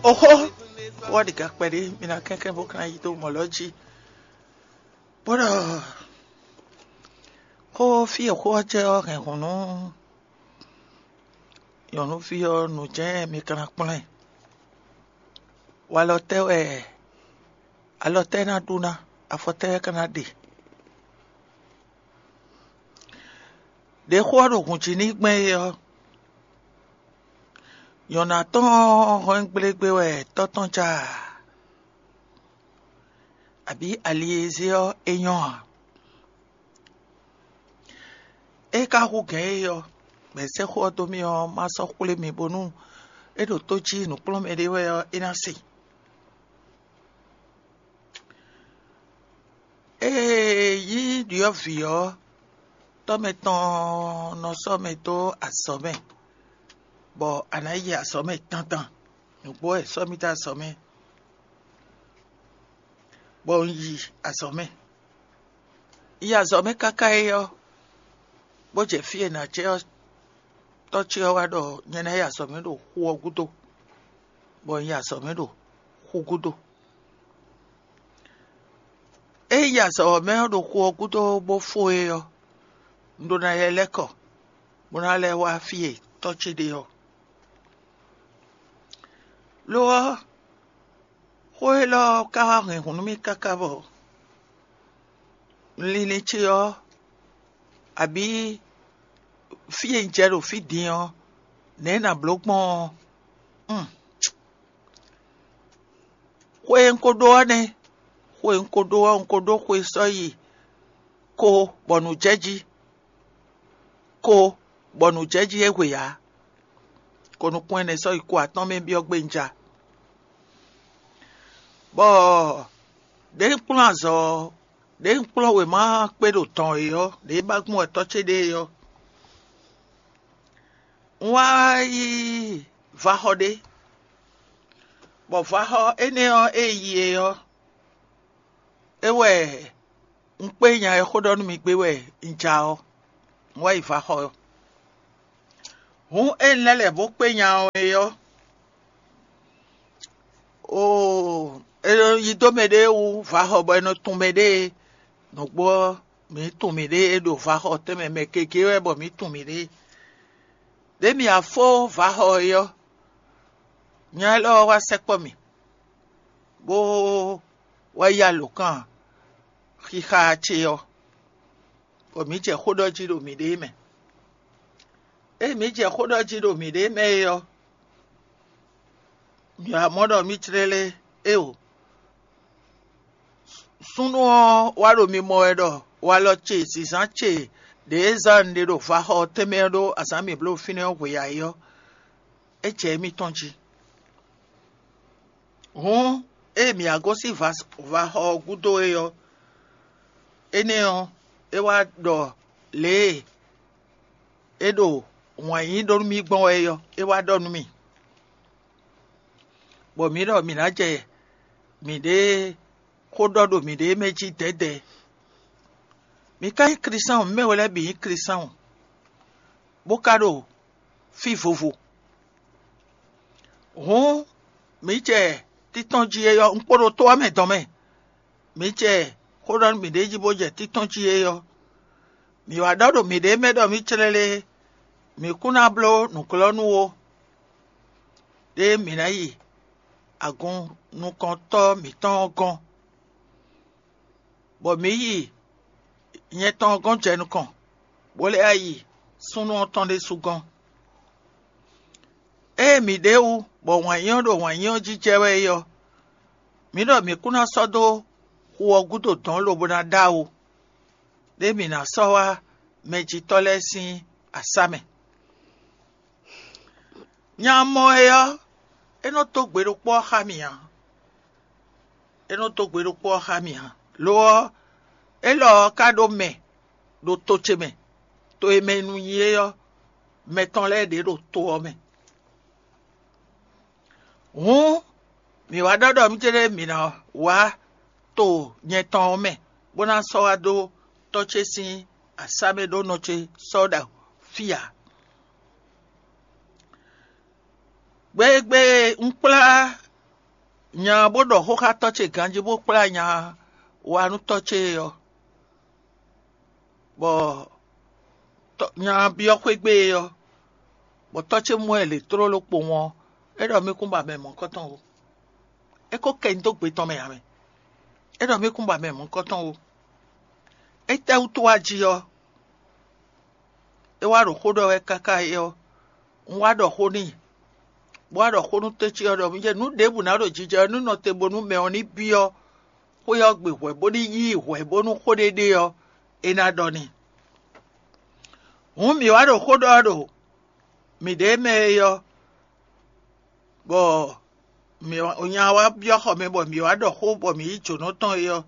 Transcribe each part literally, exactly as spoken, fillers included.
Oxó, wá ɖi ga kpɛɖé, mi ná kɛnklɛ́n bó ka ná yi dó mɔ̌ lɔ jí. Bó ɖɔ xó fí e xó ɔ́ jɛ ɔ́ hɛn hǔn nú nyɔ̌nuví ɔ́, nǔ jɛ́n mi ka ná kplɔ́n ɛ. Walɔ tɛ́ wɛ alɔ tɛ́ ná ɖu ná, afɔ tɛ́ wɛ ka ná ɖe? Ɖě xó ɔ́ ɖo hǔn jí n'i gbɛn é ɔ́, nyɔ̌nu atɔ́ɔ́n hɔn gblégbé wɛ tɔ́ tɔn ja, abǐ ali e zé ɔ́ é nyɔ́ ǎ. É ka hú gɛ̌n é ɔ́, bɔ è sɛ́ xó ɔ́ dó mì ɔ́, má sɔ́ xwlé mi bónú é ɖo tó jí nǔkplɔ́nmɛ ɖé wɛ ɔ́, é ná se. Ée nyí ɖyɔ̌vǐ ɔ́, tɔ́ mɛ tɔn nɔ sɔ́ mɛ dó azɔ̌ mɛ, bɔ a nǎ yi azɔ̌ mɛ dandan. Nǔgbó wɛ è sɔ́ mì dó azɔ̌ mɛ, bɔ un yi azɔ̌ mɛ. Un yi azɔ̌ mɛ káká é ɔ́, bó jɛ fí e nǎ jɛ ɔ́, tɔ́ ce ɔ́ wá ɖɔ nyɛ ná yi azɔ̌ mɛ ɖo xu ɔ́ gúdo, bɔ un yi azɔ̌ mɛ ɖo xu gúdo. Ée yi azɔ̌ ɔ́ mɛ ɔ́ ɖo xu ɔ́ gúdo bó fó é ɔ́, un ɖó ná lɛ́ lɛ́ kɔ, bó ná lɛ́ wá fí e tɔ́ ce ɖe ɔ́. Lo ɔ́, xó élɔ́ ɔ́ ka wá hɛn hǔn nú mì káká bɔ linlin ce ɔ́, abǐ fí e un jɛ ɖo fí din ɔ́, nɛ̌ nǎ bló gbɔn ɔ́? Xwe e un ko ɖó ɔ́ nɛ́. Xwe e un ko ɖó ɔ́, un ko ɖó xwe sɔ́ yi ko bɔ nǔ jɛ jí, ko bɔ nǔ jɛ jí é hwe ǎ. Ko nukún ɛnɛ sɔ́ yi ko atɔ́ɔ́n mɛ byɔ́ gbé un ja. Bɔ ɖěe un kplɔ́n azɔ̌ ɔ́, ɖěe un kplɔ́n wěma kpé ɖo dɔn é ɔ́, ɖěe ba gbɔn wɛ tɔ́ ce ɖe é ɔ́, un wá yi vaxɔ ɖé, bɔ vaxɔ énɛ́ ɔ́ e yi é ɔ́, é wɛ un kpé nya e xó ɖɔ nú mi gbé wɛ un ja ɔ́, un wá yi vaxɔ ɔ́. Hǔn ée un lɛ́ lɛ̌ bó kpé nya ɔ́ é ɔ́, oo, è nɔ yi dó mɛɖée wú vaxɔ bɔ è nɔ tun mɛɖée. Nǔgbó ɔ́, mǐ tunwun mǐɖée ɖo vaxɔ tɛnmɛ mɛ gěgé wɛ bɔ mǐ tunwun mǐɖée. Ɖě mǐ wá fó vaxɔ é ɔ́, nya élɔ́ ɔ́ wá sɛkpɔ́ mì, bó wá yí alǒkan xixa ce ɔ́, bɔ mǐ jɛ xó ɖɔ jí ɖo mǐɖée mɛ. Ée mǐ jɛ xó ɖɔ jí ɖo mǐɖée mɛ é ɔ́, mǐ wá mɔ ɖɔ mǐ jlɛ́ lé éeǒ. Súnnu ɔ́ wá ɖo mi mɔ wɛ ɖɔ walɔ ce, zǐnzán ce ɖě e zán un ɖe ɖo vaxɔ ɔ́ tɛnmɛ ɔ́ ɖó azǎn mǐ bló fínɛ́ ɔ́ hwe ǎ é ɔ́, é jɛ émítɔn jí. Hǔn, ée mǐ wá gosín vaxɔ ɔ́ gúdo é ɔ́, énɛ́ ɔ́, é wá ɖɔ lě e é ɖo wǎn yí ɖó nú mì gbɔn wɛ é ɔ́, é wá ɖɔ nú mì, bɔ mǐ ɖɔ mǐ ná jɛ mǐɖée xó ɖɔ ɖo mǐɖée mɛ jí dɛ̌dɛ̌. Mǐ ka nyí Klísáɔn, mǐ mɛ we lɛ́ɛ bǐ nyí Klísáɔn, bó ka ɖo fí vovo. Hǔn, mǐ jɛ títɔ́n jí é ɔ́, un kpo ɖo to ɔ́ mɛ dɔn mɛ. Mǐ jɛ xó ɖɔ nú mǐɖée jí bó jɛ títɔ́n jí é ɔ́, mǐ wá ɖɔ ɖo mǐɖée mɛ ɖɔ mǐ clɛ́ lé, mǐ kún ná bló nǔglɔ́nú ó, ɖé mǐ ná yi agun nukɔntɔ́ mǐtɔn ɔ́ gɔ́n, bɔ mǐ yi nyɛ tɔn ɔ́ gɔ́n jɛ nukɔn, bó lɛ́ yi súnnu ɔ́ tɔn ɖésú gɔ́n. Ée mǐ ɖe wú, bɔ wǎn yí ɔ́ ɖo wǎn yí ɔ́ jí jɛ wɛ é ɔ́, mǐ ɖɔ mǐ kún ná sɔ́ dó xu ɔ́ gúdo dɔ̌n lobo ná ɖó awu, ɖé mǐ ná sɔ́ wá mɛjitɔ́ lɛ́ɛ sín asá mɛ. Nya mɔ é ɔ́, é nɔ dó gbe ɖokpó ɔ́ xá mì ǎ. É nɔ dó gbe ɖokpó ɔ́ xá mì ǎ. Lo ɔ́, élɔ́ ɔ́ ka ɖó mɛ ɖo to ce mɛ, to e mɛ nu nyi é ɔ́, mɛ tɔn lɛ́ɛ ɖě ɖo to ɔ́ mɛ. Hǔn, mǐ wá ɖɔ ɖɔ mǐ céɖée mǐ ná wá to nyɛ tɔn ɔ́ mɛ, bó ná sɔ́ wá dó tɔ́ ce sín asá mɛ ɖó nɔ ce sɔ́ ɖo fí ǎ. Gbe e gbe e un kplá nya bó ɖɔ xó xá tɔ́ ce ganjí bó kplá nya wá nú tɔ́ ce ɔ́, bɔ nya byɔ́ xwé gbe ɔ́, bɔ tɔ́ ce mɔ ɛ lě tlóló kpowun ɔ́, é ɖɔ mì kún ba mɛ mɔ̌kɔtɔn ó. É ko kɛ nyi dó gbe tɔn mɛ ǎ mɛ. É ɖɔ mì kún ba mɛ mɔ̌kɔtɔn ó. Étɛ́wútu wá jí ɔ́, é wá ɖo xó ɖɔ wɛ káká é ɔ́, un wá ɖɔ xó n'i, bó wá ɖɔ xó nú tɔ́ ce ɔ́ ɖɔ mì jɛ nǔ ɖěbǔ ná ɖo jijɛ ɔ́ nú nɔ te bónú mɛ ɔ́ ní byɔ́ xwé ɔ́ gbe hwɛ̌ bó ní yí i hwɛ̌ bónú xó ɖé ɖe ɔ́, é ná ɖɔ n'i. Hǔn mǐ wá ɖo xó ɖɔ ɔ́ ɖo mǐɖée mɛ é ɔ́, bɔ mǐ nya wá byɔ́ xɔ mɛ bɔ mǐ wá ɖɔ xó bɔ mǐ yí jǒnɔ tɔn é ɔ́,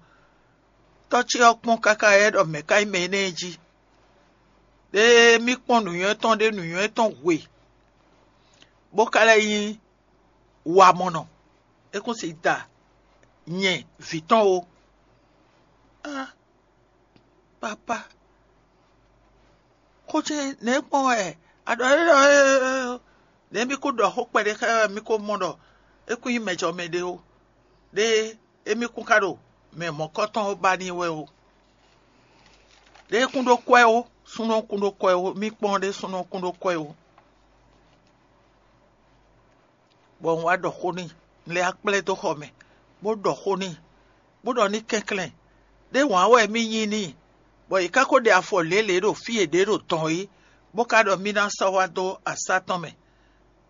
tɔ́ ce ɔ́ kpɔ́n káká é ɖɔ mɛ̌ ka nyí mɛ énɛ́ jí. Ɖé mì kpɔ́n nǔnywɛ́ tɔn ɖé nǔnywɛ́ tɔn hwe, bó ka lɛ́ nyí wamɔnɔ. É kún si da nyɛ vǐ tɔn ó. Á, papá, xó ce nɛ̌ gbɔn wɛ a ɖɔ é ɖɔ nɛ̌ mì kún ɖɔ xó kpɛɖé xá wɛ mì ko mɔ ɖɔ é kún nyí mɛjɔmɛ ɖé ó. Ɖé émí kún ka ɖo mɛ mɔ̌kɔtɔn ɔ́ ba n'i wɛ ó. Ɖé kún ɖó kwɛ́ ó, súnnu ɔ́ kún ɖó kwɛ́ ó, mì kpɔ́n ɖé súnnu ɔ́ kún ɖó kwɛ́ ó. Bɔ un wá ɖɔ xó n'i, un lɛ́ wá kplá ɛ dó xɔ mɛ, bó ɖɔ xó n'i, bó ɖɔ ní kɛnklɛ́n, ɖé wǎn wɛ mì nyi n'i, bɔ yě ká ko ɖe afɔ lě lě ɖo fí e ɖě ɖo dɔn é, bó ka ɖɔ mì ná sɔ́ wá dó asá tɔn mɛ.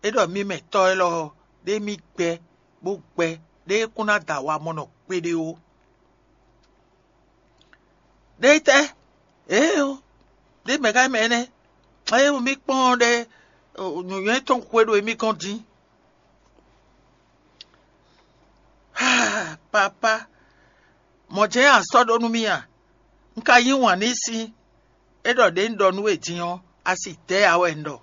É ɖɔ mì mɛ tɔ́ élɔ́ ɔ́, ɖé mì gbɛ bó gbɛ, ɖé kún ná da wamɔnɔ gbeɖé ó. Ɖé tɛ́? Ée ó, ɖé mɛ̌ ká mɛ énɛ́? Ée mì kpɔ́n ɖɛ́ nǔnywɛ́ tɔn xwé ɖo émí gɔ́n dín. Papá, mɔ̌ jɛ́n a sɔ́ ɖó nú mì a? Un ka yí wǎn n'i sín, é ɖɔ ɖě un ɖɔ nú we din ɔ́, a si dɛ̌ ǎ wɛ un ɖɔ.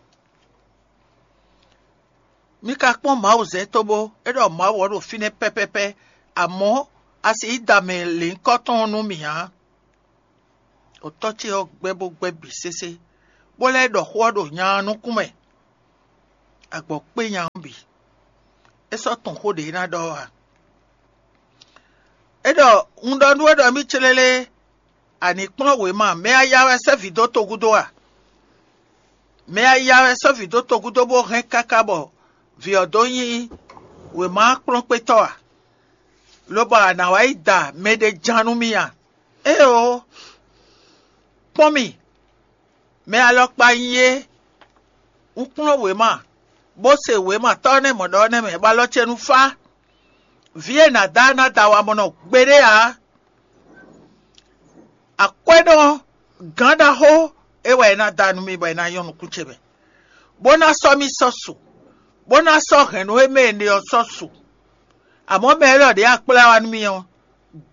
Mi ka kpɔ́n Mawu zɛ cóbó é ɖɔ Mawu ɔ́ ɖo fínɛ́ pɛ́pɛ́pɛ́, amɔ̌ a sixú da mɛ lěhunkɔtɔn ɔ́ nú mì ǎ. Otɔ́ ce ɔ́ gbɛ́ bó gbɛ́ bǐ sésé, bó lɛ́ ɖɔ xó ɔ́ ɖo nya ɔ́ nukún mɛ, agbɔ̌ kpé nya ɔ́ bǐ. É sɔ́ tunwun xó ɖě ná ɖɔ ɔ́ ǎ. É ɖɔ: Un ɖɔ nú we ɖɔ mì célélé, a nǐ kplɔ́n wěma, mɛ a ya wɛ sɛ́ vǐ dó togúdo a? Mɛ a ya wɛ sɔ́ vǐ dó togúdo bó hɛn káká bɔ vǐ ɔ́ dó nyí wěma kplɔ́nkpétɔ́ a? Lobɔ a nǎ wá yi da mɛɖé ján nú mì a? Éeǒ, kpɔ́n mì, mɛ alɔkpa nyí é. Un kplɔ́n wěma, bó se wěma tɔ́ nɛ́ mɔ̌ ɖɔ ɔ́ nɛ́ mɛ, bɔ alɔ ce nu fá. Vǐ e nǎ da ná da wamɔnɔ gbeɖé ǎ. Akwɛ́nɔ gǎn ɖaxó é wɛ é ná da nú mi bɔ é ná nyɔ́ nukún ce mɛ, bó ná sɔ́ mì sɔ́ su, bó ná sɔ́ hɛ̌nnu e mɛ è ɖe ɔ́ sɔ́ su. Amɔ̌ mɛ élɔ́ ɖě a kplá wá nú mì ɔ́,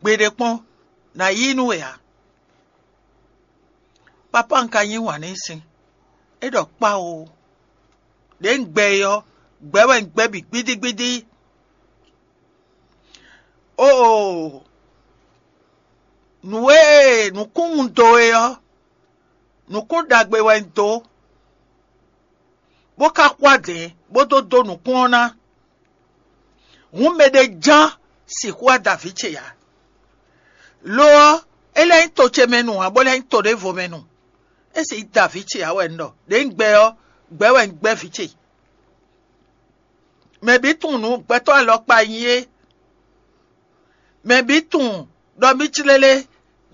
gbeɖé kpɔ́n ná yí nú we ǎ. Papá un ka yí wǎn n'i sín, é ɖɔ kpá o. Ɖě un gbɛ é ɔ́, gbɛ̌ wɛ un gbɛ́ bǐ gbídígbídí. Oo, nǔ e nǔkún un dó é ɔ́, nǔkún ɖagbe wɛ un dó, bó ka xwá dɛ̌n bó dó dó nǔkún ɔ́ ná. Hǔn mɛɖé ján sixú wá da vǐ ce ǎ. Lo ɔ́, é lɛ́ nyí to ce mɛ nu ǎ, bó lɛ́ nyí to ɖěvo mɛ nu. É sixú da vǐ ce ǎ wɛ un ɖɔ. Ɖě un gbɛ ɔ́, gbɛ̌ wɛ un gbɛ́ vǐ ce. Mɛ bǐ tunwun nǔ gbɛtɔ́ alɔkpa nyí é. Mɛ bǐ tunwun ɖɔ mì clélé,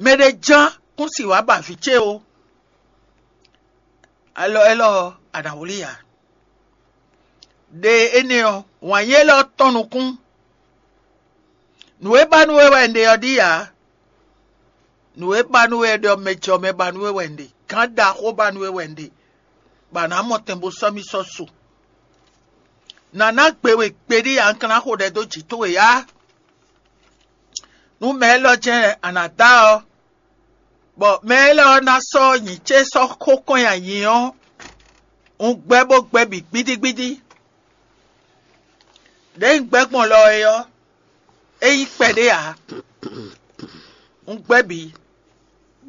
mɛɖé ján kún si wǎ ba vǐ ce ó. Alɔ élɔ́ ɔ́, a nǎ wlí ǎ. Ɖe énɛ́ ɔ́, wǎn yí élɔ́ tɔ́n nukún. Nǔ e ba nú we wɛ un ɖe ɔ́ ɖíe ǎ. Nǔ e ba nú we ɖɔ mɛ jɔ mɛ ba nú we wɛ un ɖe. Gǎn ɖaxó ba nú we wɛ un ɖe, bɔ a nǎ mɔ tɛn bó sɔ́ mì sɔ́ su. Nǎ ná gbe we gbeɖé ǎ, un ka ná xo ɖɛ dó jǐ towe ǎ. Nú mɛ élɔ́ jɛ́n a nǎ da ɔ́, bɔ mɛ élɔ́ ɔ́ ná sɔ́ nyǐ ce sɔ́ xó kɔn nyi ayǐ ɔ́, un gbɛ́ bó gbɛ́ bǐ gbídígbídí. Ɖěe un gbɛ́ gbɔn lɔ é ɔ́, é nyí kpɛɖé ǎ. Un gbɛ́ bǐ,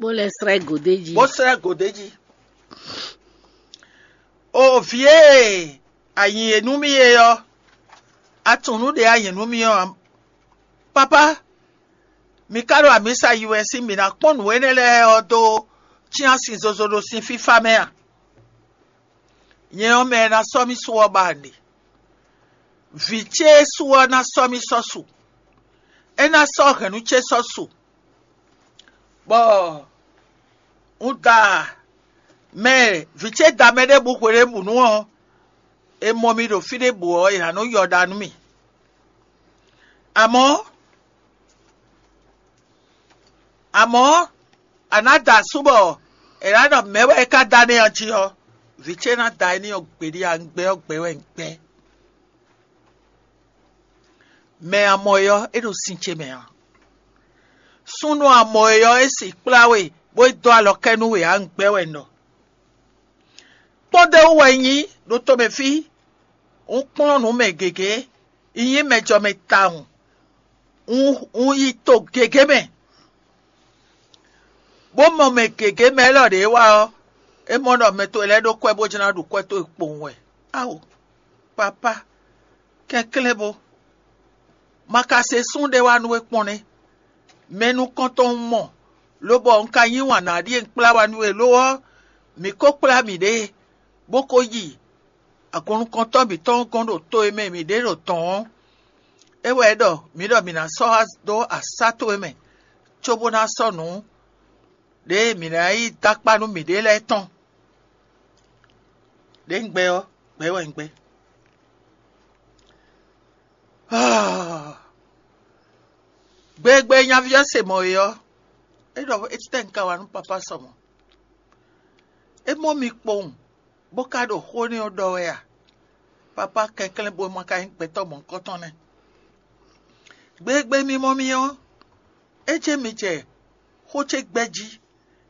bó lɛ́ slɛ́ gǒ d'é jí. Bó slɛ́ gǒ d'é jí. O vǐ e a nyi e nú mì é ɔ́, a tunwun nǔ ɖě a nyɛ nú mì ɔ́ ǎ. Papá, mi ka ɖo amǐsa yi wɛ sín mǐ ná kpɔ́n nǔ énɛ́ lɛ́ɛ ɔ́ dó cyán sin zozo ɖo sin fífá mɛ a? Nyɛ ɔ́, mɛ e ná sɔ́ mì su ɔ́ ba nǔɖé. Vǐ ce e su ɔ́ ná sɔ́ mì sɔ́ su; é ná sɔ́ hɛ̌nnu ce sɔ́ su, bɔ un da mɛ vǐ ce da mɛ ɖěbǔ hweɖěbǔnu ɔ́, è mɔ mi ɖo fí ɖěbǔ ɔ́, è nǎ nɔ yɔ ɖa nú mì. Amɔ̌, amɔ̌, a nǎ da asú bɔ è nǎ ɖɔ mɛ̌ wɛ é ka da nɛ́ ɔ́ jí ɔ́, vǐ ce ná da é n'i ɔ́ gbeɖé ǎ, un gbɛ́ ɔ́ gbɛ́ wɛ un gbɛ́. Mɛ a mɔ é ɔ́, é ɖo sin ce mɛ ǎ. Súnnu a mɔ é ɔ́, é si kplá we, bó yi dó alɔ kɛ nú we ǎ, un gbɛ́ wɛ un ɖɔ. Kpɔ́ndéwú wɛ un nyí ɖo tomɛ fí; un kplɔ́n nǔ mɛ gěgé; un nyí mɛjɔmɛ tawun; un, un yi to gěgé mɛ, bó mɔ mɛ gěgé mɛ élɔ́ ɖě wá ɔ́, é mɔ ɖɔ mɛ towe lɛ́ɛ ɖó kwɛ́ bó jlá ɖu kwɛ́ towe kpowun wɛ. Ao, papá, kɛnklɛ́n bo! Ma ka se sún ɖé wá nú we kpɔ́n nɛ́. Mɛ nukɔntɔn un mɔ, lobɔ un ka yí wǎn ná ɖíe un kplá wá nú we lo ɔ́, mǐ ko kplá mǐɖée, bó ko yi agun nukɔntɔn mǐtɔn gɔ́n ɖo to e mɛ mǐ ɖe ɖo dɔ̌n ɔ́. É wɛ é ɖɔ mǐ ɖɔ mǐ ná sɔ́ wá dó asá towe mɛ, cóbó ná sɔ́ nǔ ɖě e mǐ ná yi dó akpá nú mǐɖée lɛ́ɛ tɔn. Ɖě un gbɛ́ ɔ́, gbɛ̌ wɛ un gbɛ́. Gbegbe nyaví ɔ́ se mɔ̌ é ɔ́, é ɖɔ étɛ́ un ka wa nú papá sɔ mɔ̌? É mɔ mi kpowun, bó ka ɖo xó énɛ́ ɔ́ ɖɔ wɛ a? Papá kɛnklɛ́n bo ma ka nyí gbɛtɔ́ mɔ̌hunkɔtɔn nɛ́. Gbegbe mi mɔ mi ɔ́, é jɛ́n mi jɛ xó ce gbɛ́ jí;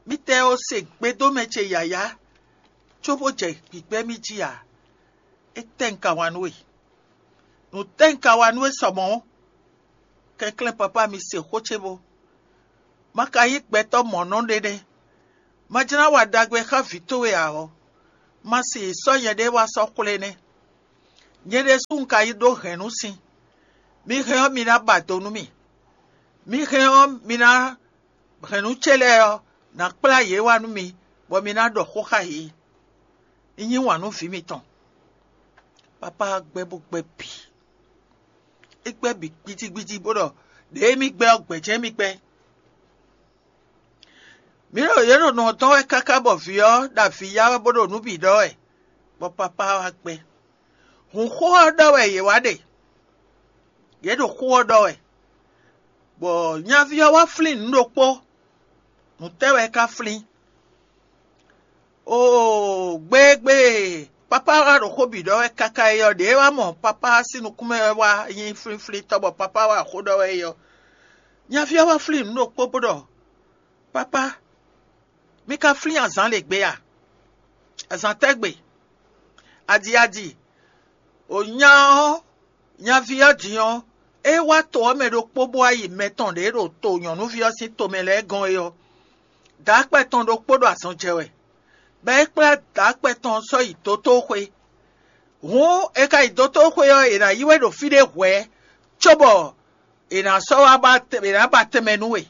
mítɛ́ ɔ́ se gbedómɛ ce yǎyá, cóbó jɛ gbǐgbɛ́ mì jí ǎ. Étɛ́ un ka wa nú we? Nǔ tɛ́ un ka wa nú we sɔ mɔ̌? Kɛnklɛ́n papá mi se xó ce bo. Ma ka nyí gbɛtɔ́ mɔ̌nɔ ɖé nɛ́. Ma jlá wa ɖagbe xá vǐ towe ǎ ɔ́, ma si sɔ́ nyɛɖée wá sɔ́ xwlé nɛ́. Nyɛ ɖésú un ka yi ɖó hɛ̌nnu sin. Mi hɛn ɔ́, mi ná ba do nú mì. Mi hɛn ɔ́, mi ná hɛ̌nnu ce lɛ́ɛ ɔ́, nǎ kplá yě wá nú mi, bɔ mi ná ɖɔ xó xá yě. Un yí wǎn nú vǐ mitɔn. Papá gbɛ́ bó gbɛ́ bǐ. É gbɛ́ bǐ gbíjígbíjí bó ɖɔ ɖěe mì gbɛ́ ɔ́, gbɛ̌ jɛ́n mì gbɛ́. Mǐ ɖo yě ɖo nǔ ɔ́ dɔn wɛ káká bɔ vǐ ɔ́ ɖo avǐ ya wɛ bó ɖo nǔ bǐ ɖɔ wɛ, bɔ papá wá gbɛ́. Hǔn xó ɔ́ ɖɔ wɛ yě wá ɖe; yě ɖo xó ɔ́ ɖɔ wɛ, bɔ nyaví ɔ́ wá flín nǔ ɖokpó. Nǔ tɛ́ wɛ é ka flín? Oo, gbégbé! Papá wá ɖo xó bǐ ɖɔ wɛ káká é ɔ́, ɖěe wá mɔ papá sín nukún mɛ wɛ wá nyí flínflíntɔ́, bɔ papá wá xó ɖɔ wɛ é ɔ́, nyaví ɔ́ wá flín nǔ ɖokpó bó ɖɔ: Papá, mi ka flín azǎn ɖě gbe a? Azǎn tɛ́ gbe? Adi adi! O nya ɔ́, nyaví ɔ́ din ɔ́, é wá to ɔ́ mɛ ɖokpó bó wá yi mɛ tɔn ɖě ɖo to nyɔ̌nuví ɔ́ sín tomɛ lɛ́ɛ gɔ́n é ɔ́, dǎkpɛ tɔn ɖokpó ɖo azɔn jɛ wɛ, bɔ é kplá dǎkpɛ tɔn ɔ́ sɔ́ yi dotóxwé. Hǔn è ka yi dotóxwé ɔ́, è nǎ yí we ɖo fí ɖé hwɛ̌, cóbɔ è nǎ sɔ́ wá ba è nǎ ba tɛnmɛ nú we.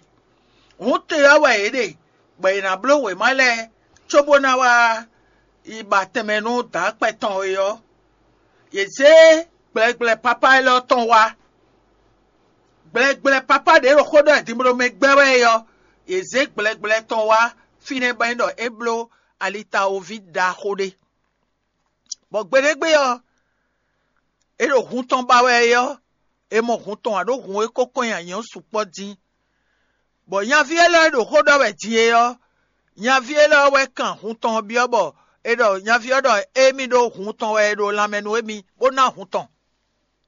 Hǔn te ɔ́ wɛ yě ɖe, bɔ è nǎ bló wěma lɛ́ɛ cóbó ná wá yi ba tɛnmɛ nú dǎkpɛ tɔn é ɔ́, yě zé gblɛgblɛ papá élɔ́ tɔn wá. Gblɛgblɛ papá ɖě ɖo xó ɖɔ dinbló mɛ gbɛ́ wɛ é ɔ́, yě zé gblɛgblɛ tɔn wá fínɛ́ bɔ é ɖɔ é bló alitawoví ɖaxó ɖé. Bɔ gbeɖégbé ɔ́, é ɖo hun tɔn ba wɛ é ɔ́, è mɔ hun tɔn ǎ ɖó hun e ko kɔn nyi anyɛ ɔ́ sukpɔ́ dín. Bɔ nyaví élɔ́ e ɖo xó ɖɔ wɛ din é ɔ́, nyaví élɔ́ wɛ kan hun tɔn ɔ́ byɔ́ bɔ è ɖɔ nyaví ɔ́ ɖɔ émí ɖó hun tɔn wɛ è ɖo lanmɛ nú émí, bó ná hun tɔn,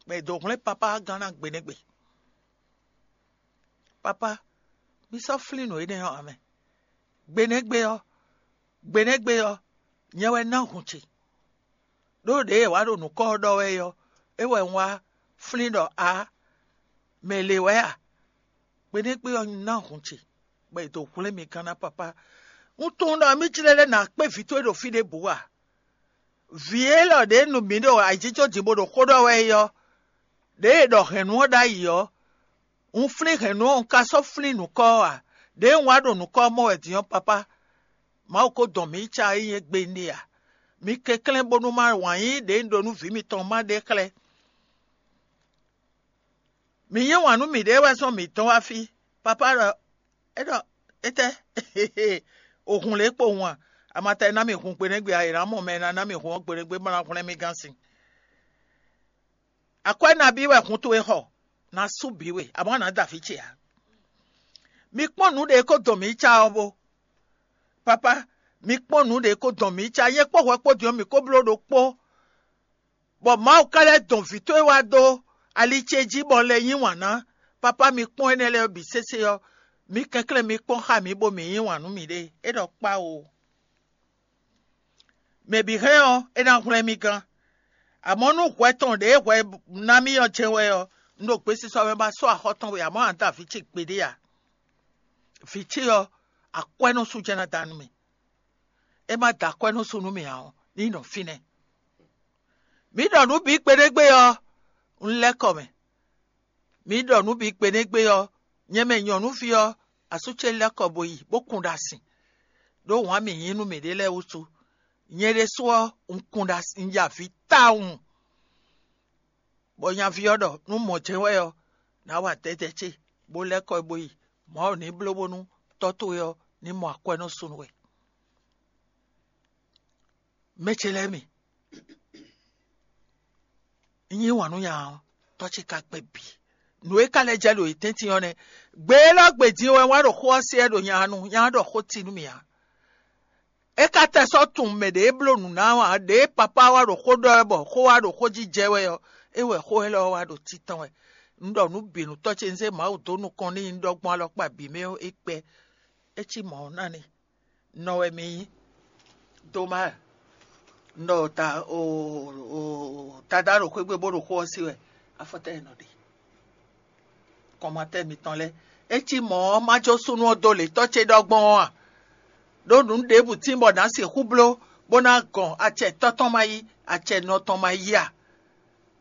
bɔ è dǒ hwlɛ́n papá gán ná gbe nɛ́ gbe. Papá, mi sɔ́ flín nǔ énɛ́ ɔ́ ǎ mɛ. Gbe nɛ́ gbe ɔ́, gbe nɛ́ gbe ɔ́, nyɛ wɛ ná hun ce. Ɖó ɖěe è wǎ ɖo nǔkɔ ɔ́ ɖɔ wɛ é ɔ́, é wɛ un wá flín ɖɔ ǎ, mɛ le wɛ a? Gbe nɛ́ gbe ɔ́ ná hun ce, bɔ è dǒ hwlɛ́n mi gán ná papá. Un tunwun ɖɔ mí jlɛ́ lɛ́ nǎ kpé vǐ towe ɖo fí ɖěbǔ a? Vǐ élɔ́ ɖě nu mǐ ɖo ayǐjínjɔ́n din bó ɖo xó ɖɔ wɛ é ɔ́, ɖěe è ɖɔ hɛ̌nnu ɔ́ ɖ'ayǐ ɔ́, Un flín hɛ̌nnu ɔ́, un ka sɔ́ flín nǔkɔ ɔ́ ǎ. Đěe un wá ɖo nǔkɔ ɔ́ mɔ wɛ din ɔ́, papá, Mawu ko dɔn mǐ yi ca e nyí égbé ɖe ǎ. Mi kɛnklɛ́n bónú má wǎn yíyí ɖě un ɖó nú vǐ mitɔn má ɖe xlɛ́. Mǐ yí wǎn nú mǐɖée wɛ zɔ́n mǐ dɔn wá fí. Papá ɖɔ, é ɖɔ, étɛ́? O hun lě kpo hun a? Amata e ná mì hun gbe nɛ́ gbe a, è nǎ mɔ mɛ e ná ná mì hun ɔ́ gbe nɛ́ gbe bó ná hwlɛ́n mì gán sin. Akwɛ́ nabí wɛ hun towe xɔ? Ná sú bǐ we, amɔ̌ a nǎ da vǐ ce ǎ. Mi kpɔ́n nǔ ɖě ko dɔn mǐ yi ca ɔ́ bó. Papá, mi kpɔ́n nǔ ɖě ko dɔn mǐ yi ca, nyɛ kpó hwɛ kpó din ɔ́, mǐ ko bló ɖokpó, bɔ Mawu ka lɛ́ dɔn vǐ towe wá dó ali ce jí bɔ un lɛ́ yí wǎn ná. Papá, mi kpɔ́n énɛ́ lɛ́ɛ bǐ sésé ɔ́, mi kɛnklɛ́n mi kpɔ́n xá mǐ bó mǐ yí wǎn nú mǐɖée. É ɖɔ kpá o. Mɛ bǐ hɛn ɔ́, é ná hwlɛ́n mì gán. Amɔ̌ nú hwɛ tɔn ɖě hwɛ ná mì ɔ́ jɛ́n wɛ ɔ́, un ɖo gbesisɔ mɛ ba sɔ́ axɔ́ tɔn we, amɔ̌ a da vǐ ce gbeɖé a? Vǐ ce ɔ́, akwɛ́ nɔ sú jɛ́n ná da nú mì. É má da akwɛ́ nɔ sú nú mì ǎ ɔ́, ní nɔ fínɛ́. Mǐ ɖɔ nǔ bǐ kpeɖégbé ɔ́, un lɛ́ kɔ mɛ. Mǐ ɖɔ nǔ bǐ kpeɖégbé ɔ́, nyɛ mɛ nyɔ̌nuví ɔ́, asú ce lɛ́ kɔ bo yi bó kun ɖo asin, ɖó wǎn mǐ yí nú mǐɖée lɛ́ɛ wútu. Nyɛ ɖésú ɔ́, un kun ɖo asin, un ya avǐ tawun, bɔ nyaví ɔ́ ɖɔ nú mɔ̌ jɛ́n wɛ ɔ́, nǎ wa dɛ̌dɛ̌ ce, bó lɛ́ kɔ bo yi. Mawu ní bló bónú tɔ́ towe ɔ́ ní mɔ akwɛ́ nɔ sú nú we. Mɛ ce lɛ́ɛ mi, un yí wǎn nú nya ɔ́, tɔ́ ce ka gbɛ bǐ. Nǔ e ka lɛ́ jɛ ɖo yě tɛ́ntin ɔ́ nɛ́. Gbe élɔ́ gbe din wɛ wá ɖo xó ɔ́ se wɛ ɖo nya nu, nya ɔ́ ɖɔ xó ti nú mì ǎ. É ka tɛ sɔ́ tunwun mɛ ɖě e bló nǔ ná ɔ́ ǎ, ɖě e papá wá ɖo xó ɖɔ wɛ bɔ xó wá ɖo xó jí jɛ wɛ ɔ́, é wɛ xó élɔ́ wá ɖo títɔn wɛ. Un ɖɔ nǔ bǐ nú tɔ́ ce, un zé Mawu dó nukɔn n'i, un ɖɔ gbɔn alɔkpa bǐ mɛ ɔ́, é kpɛ́. É cí mɔ̌ ɔ́ ná n'i. Nɔ wɛ mi nyí. Doma, un ɖɔ ta o o tadá ɖo xwé gbe bó ɖo xó ɔ́ sí wɛ, afɔtɛ́ e nɔ ɖe. Kɔnmatɛ́ mitɔn lɛ́ɛ, é cí mɔ̌ ɔ́, má jó súnnu ɔ́ dó lě tɔ́ ce ɖɔ gbɔn ɔ́ a? Ɖó nǔ ɖěbǔ tín bɔ nǎ sixú bló bó ná gɔn acɛ tɔ́ tɔn ma yí, acɛ nɔ tɔn ma yí a?